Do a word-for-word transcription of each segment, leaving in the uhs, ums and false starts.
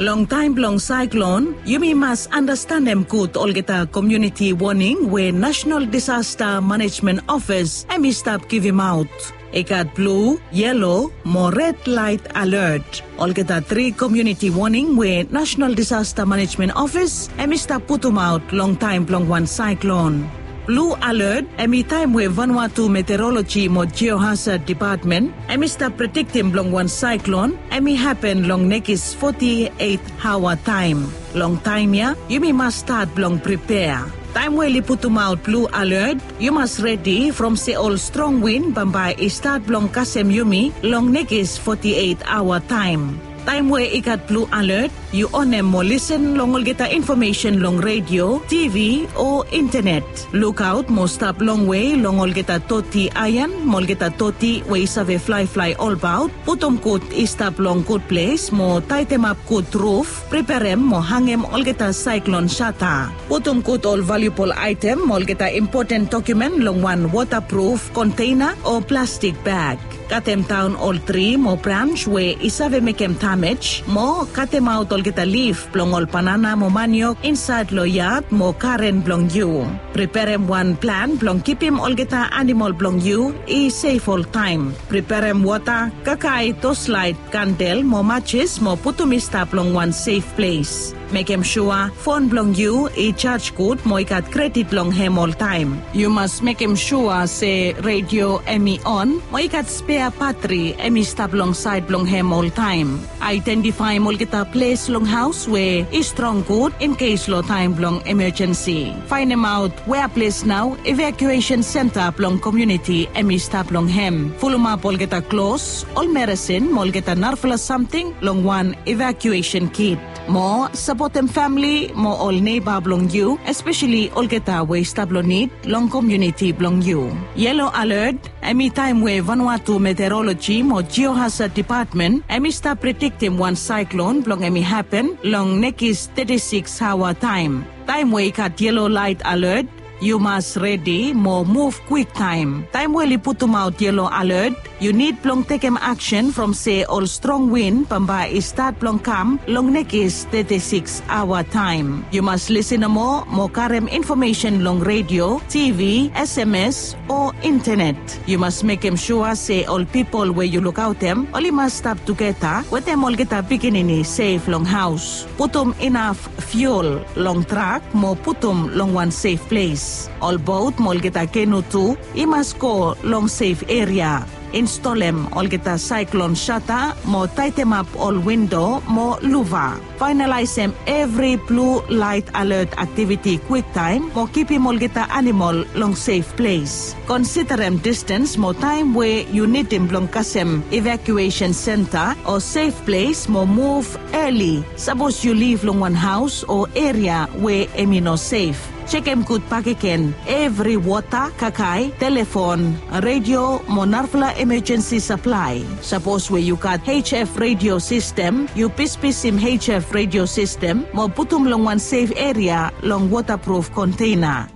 Long taem blong saeklon, yumi mas anastenem gud olgeta komuniti woning we National Disaster Management Office hem i stap givimaot. I gat blu, yelo mo red laet alert. Olgeta tri komuniti woning we National Disaster Management Office hem i stap putumaot long taem blong wan saeklon. Blu alert hem i taem we Vanuatu Meteoroloji mo Geohazard Depatmen hem i stap prediktem blong wan saeklon hem i hapen long nekis foti eit aoa taem. Long taem ya yumi mas stat blong pripea. Taem we oli putumaot blu alert, yu mas redi from se ol strong win bambae i stat blong kasem yumi long nekis foti eit aoa taem. Taem we i gat blu alert, yu onem mo lisen long olgeta infomesen long redio, tivi o intenet. Lukaot mo stap longwe long olgeta toti aean mo olgeta toti we i save flaeflae olbaot. Putum gud i stap long gud ples mo taetemap gud ruf, preperem mo hangem olgeta saeklon sata. Putum gud ol valiubol aetem mo olgeta impoten dokumen long wan wotapruf konteina o plastik bag. Katemdaon ol tri mo brans we i save mekem damej mo katemaot olgeta lif blong ol banana mo maniok insaed long yad mo garen blong yu. Preperem wan plan blong kipim olgeta anamol blong yu i sef oltaem. Preperem wota, kakae, toslaet, kandel mo majis mo putum i stap long wan sef ples. Mekem sua fon blong yu i jaj gud mo i gat kredit long hem oltaem. Yu mas mekem sua se redio hem i on mo i gat spea batri hem i stap long saed blong hem oltaem. Aedentifaem olgeta ples long haos we i strong gud in kes long taem blong emejensi. Faenemaot wea ples nao evakuesen senta blong komuniti hem i stap long hem. Fulumap olgeta klos, ol meresin mo olgeta narafala samting long wan evakuesen kit. Mo sapotem famili mo ol neiba blong yu, espeseli olgeta we i stap long nid long komuniti blong yu. Yelo alert hem i taem we Vanuatu Meteoroloji mo Geohazard Depatmen hem i stap prediktem wan saeklon blong hem i hapen long nekis teti sikis aoa taem. Taem we i gat yelo laet alert, yu mas redi mo muv kwiktaem. Taem we oli putumaot yelo alert, yu nid blong tekem aksen from se ol strong win bambae i stat blong kam long nekis teti sikis aoa taem. Yu mas lisen nomo mo karem infomesen long redio, tivi, sms o intenet. Yu mas mekem sua se ol pipol we yu lukaotem oli mas stap tugeta wetem olgeta pikinini sef long haos. Putum inaf fiul long trak mo putum long wan sef ples. Ol bot mo olgeta kenu tu i mas go long sef eria. Instolem olgeta saeklon sata mo taetemap ol windo mo luva. Faenalaesem evri blu laet alert aktiviti kwiktaem mo kipim olgeta anamol long sef ples. Konsiderem distens mo taem we yu nidim blong kasem evakuesen senta o sef ples mo muv eli. Sapos yu liv long wan haos o eria we hem i no sef, jekem gud bakegen evri wota, kakae, telefon, redio mo narafala emejensi saplae. Sapos we yu gat H F redio sistem, yu pispisim H F redio sistem mo putum long wan sef eria long wotapruf konteina.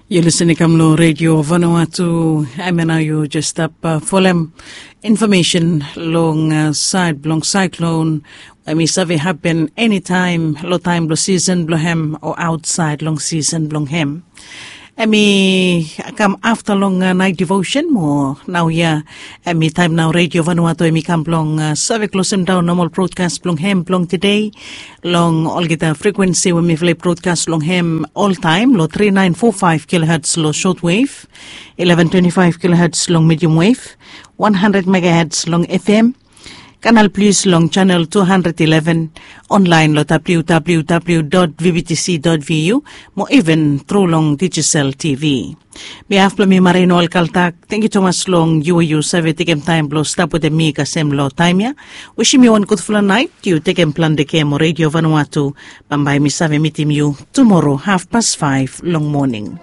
Yu lisin i kam long Redio Vanuatu. Hemia nao yu jes stap folem infomesen long saed blong saeklon we hem i save hapen enitaem long taem blong sisen blong hem o aotsaed long sisen blong hem. Hem i kam afta long naet devosen mo naoia hem i taem nao Redio Vanuatu hem i kam blong save klosemdaon nomol brodkas blong hem blong tede. Long olgeta frekuensi we mifala i brodkas long hem oltaem long tri naen fo faef kiloherts long sotwev, ileven twenti faef kiloherts long medium wev, wan handred megaherts long F M, Kanal Plus long janel tu handred ileven, onlaen long W W W dot V B T C dot V U mo iven tru long Digicel T V. Mi haf blong mi Marino Alkaltak, tangkiu tumas long yu we yu save tekem taem blong stap wetem mi kasem long taem ya. Wisim yu wan gudfala naet, yu tekem plante kea mo Redio Vanuatu. Bambae mi save mitim yu tumora hafpas faef long moning.